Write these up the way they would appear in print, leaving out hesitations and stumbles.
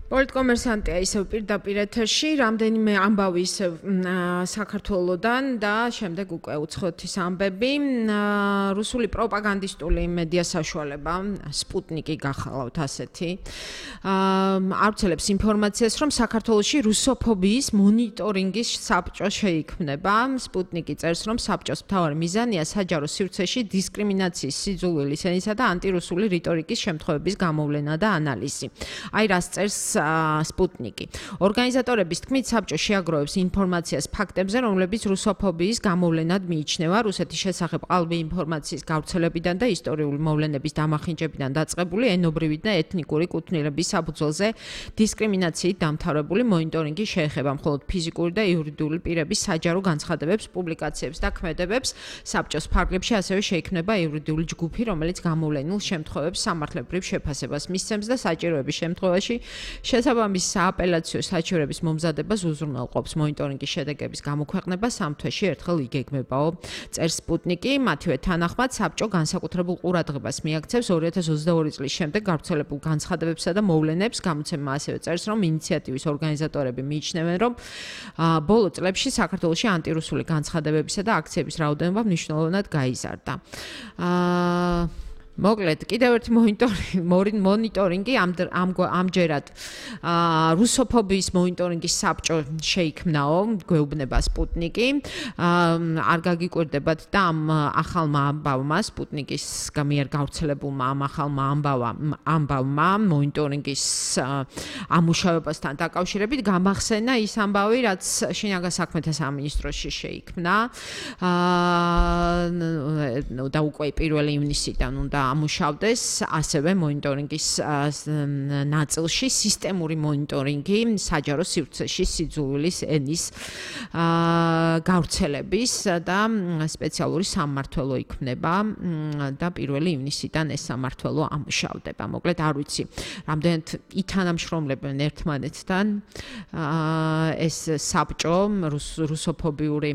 პოლიტკომერსანტია ისევ პირდაპირ ეთერში, რამდენიმე ამბავი ისევ საქართველოდან და შემდეგ უკვე უცხოეთის ამბები. რუსული პროპაგანდისტული მედია საშუალება, სპუტნიკი გახალავთ ასეთი. ავრცელებს ინფორმაციას, რომ საქართველოში რუსოფობიის მონიტორინგის საბჭო შეიქმნება. სპუტნიკი წერს, რომ საბჭოს მთავარი მიზანია საჯარო სივრცეში დისკრიმინაციის, სიძულვილის ენისა და ანტირუსული რიტორიკის შემთხვევების გამოვლენა და ანალიზი. აი რას წერს სპუტნიკი. ორგანიზატორების თქმით, საბჭო შეაგროვებს ინფორმაციას ფაქტებზე, რომლებიც რუსოფობიის გამოვლენად მიიჩნევა. რუსეთის შესახებ ყალბი ინფორმაციის გავრცელებიდან და ისტორიული მოვლენების დამახინჯებიდან დაწყებული ენობრივი და ეთნიკური კუთვნილების საფუძველზე დისკრიმინაციით დამთავრებული მონიტორინგი შეეხება მხოლოდ ფიზიკური და იურიდიული პირების საჯარო განცხადებებს, პუბლიკაციებს და ქმედებებს. საბჭოს ფარგლებში ასევე შეიქმნება იურიდიული ჯგუფი, რომელიც გამოვლენილ შემთხვევებს სამართლებრივ შეფასებას მისცემს და საჭიროების შემთხვევაში შესაბამის სააპელაციო საჩივრების მომზადებას უზრუნველყოფს. მონიტორინგის შედეგების გამოქვეყნება 3 თვეში ერთხელ იგეგმებაო. წერს სპუტნიკი, მათივე თანახმად საბჭო განსაკუთრებულ ყურადღებას მიაქცევს 2022 წლის შემდეგ გავრცელებულ განცხადებებსა და მოვლენებს. გამოცემა ასევე წერს, რომ ინიციატივის ორგანიზატორები მიიჩნევენ, რომ ბოლო წლებში საქართველოში ანტირუსული განცხადებებისა და აქციების რაოდენობა მნიშვნელოვნად გაიზარდა. მოკლედ, კიდევ ერთი მონიტორინგი ამჯერად რუსოფობიის მონიტორინგის საბჭო შეიქმნაო, გვეუბნება სპუტნიკი. არ გაგიკვირდებათ და ამ ახალმა ამბავმა, სპუტნიკის მიერ გავრცელებულმა ამ ახალმა ამბავმა მონიტორინგის ამუშავებასთან დაკავშირებით გამახსენა ის ამბავი, რაც შინაგან საქმეთა სამინისტროში შეიქმნა და უკვე 1 ივნისიდან უნდა ამუშავდეს ასევე მონიტორინგის ნაწილში სისტემური მონიტორინგი საჯარო სივრცეში სიძულვილის ენის გავრცელების და სპეციალური სამმართველო იქმნება და 1 ივნისიდან ეს სამმართველო ამუშავდება. მოკლედ არ ვიცი, რამდენად ითანამშრომლებენ ერთმანეთთან ეს საბჭო რუსოფობიური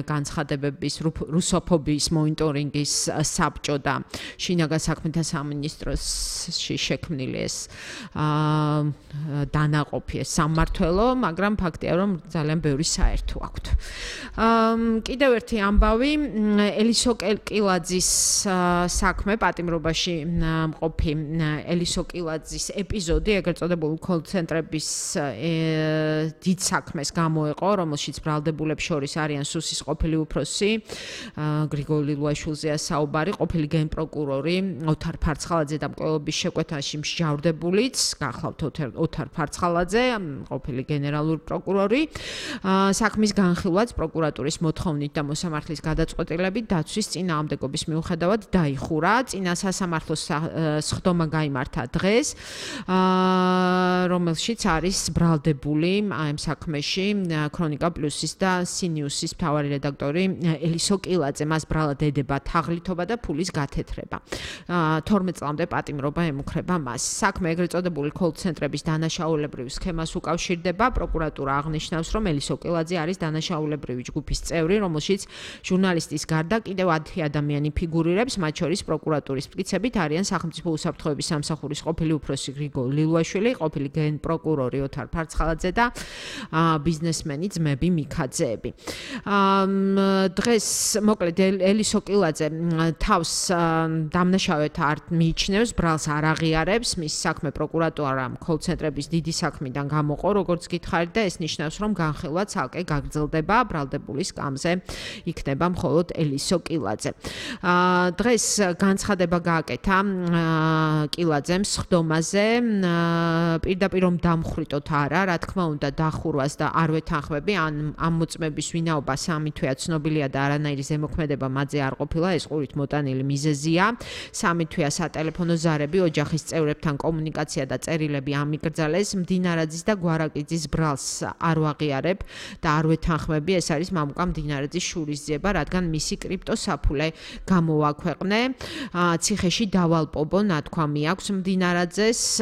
განცხადებების რუსოფობიის მონიტორინგის საბჭო და შინაგან საქმეთა სამინისტროში შექმნილი ეს დანაყოფი ეს სამმართველო, მაგრამ ფაქტია, რომ ძალიან ბევრი საერთო აქვთ. კიდევ ერთი ამბავი, ელისო კილაძის საქმე, პატიმრობაში მყოფი ელისო კილაძის ეპიზოდი, ეგრეთ წოდებული კოლ-ცენტრების დიდ საქმეს გამოეყო, რომელშიც ბრალდებულებს შორის არიან სუსის ყოფილი უფროსი, გრიგოლ ლილუაშვილზეა საუბარი, ყოფილი გენპროკურორი ოთარ ფარცხალაძე და მკვლელობის შეკვეთაში მსჯავრდებულიც, გახლავთ ოთარ ფარცხალაძე, ყოფილი გენერალური პროკურორი. საქმის განხილვაც პროკურატურის მოთხოვნით და მოსამართლის გადაწყვეტილებით დაცვის წინააღმდეგობის მიუხედავად დაიხურა. წინა სასამართლოს სხდომა გაიმართა დღეს, რომელშიც არის ბრალდებული ამ საქმეში ქრონიკა პლუსის და სინიუსის მთავარი რედაქტორი ელისო კილაძე. მას ბრალად ედება თაღლითობა და ფულის გათეთრება. 12 წლამდე პატიმრობა ემუქრება მას. საქმე ეგრეთ წოდებული კოლ-ცენტრების დანაშაულებრივ სქემას უკავშირდება. პროკურატურა აღნიშნავს, რომ ელისო კილაძე არის დანაშაულებრივი ჯგუფის წევრი, რომელშიც ჟურნალისტის გარდა კიდევ 10 ადამიანი ფიგურირებს, მათ შორის პროკურატურის მტკიცებით არიან სახელმწიფო უსაფრთხოების სამსახურის ყოფილი უფროსი გრიგოლ ლილუაშვილი, ყოფილი გენპროკურორი ოთარ ფარცხალაძე და ბიზნესმენი ძმები მიქაძეები. დღეს მოკლედ ელისო კილაძე თავს დამნაშავედ არ მიიჩნევს, ბრალს არ აღიარებს, მის საქმე პროკურატურამ კოლ-ცენტრების დიდი საქმიდან გამოყო, როგორც გითხარით და ეს ნიშნავს, რომ განხილვა ცალკე გაგრძელდება, ბრალდებულის სკამზე იქნება მხოლოდ ელისო კილაძე. დღეს განცხადება გააკეთა კილაძემ სხდომაზე, პირდაპირ რომ დამხრიტოთ არა, რა თქმა უნდა დახურვას და არ ვეთანხმები, ამ მოწმების ვინაობა 3 თვეა ცნობილია და არანაირი ზემოქმედება მათზე არ ყოფილა, ეს ყურით მოტანილი მიზეზია. 3 თვეა სატელეფონო ზარები, ოჯახის წევრებთან კომუნიკაცია და წერილები ამიგრძალეს. მდინარაძის და გვარაკიძის ბრალს არ ვაღიარებ და არ ვეთანხმები, ეს არის მამუკა მდინარაძის შურისძიება, რადგან მისი კრიპტოსაფულე გამოვაქვეყნე. ციხეში დავალპობო ნათქვამი აქვს მდინარაძეს.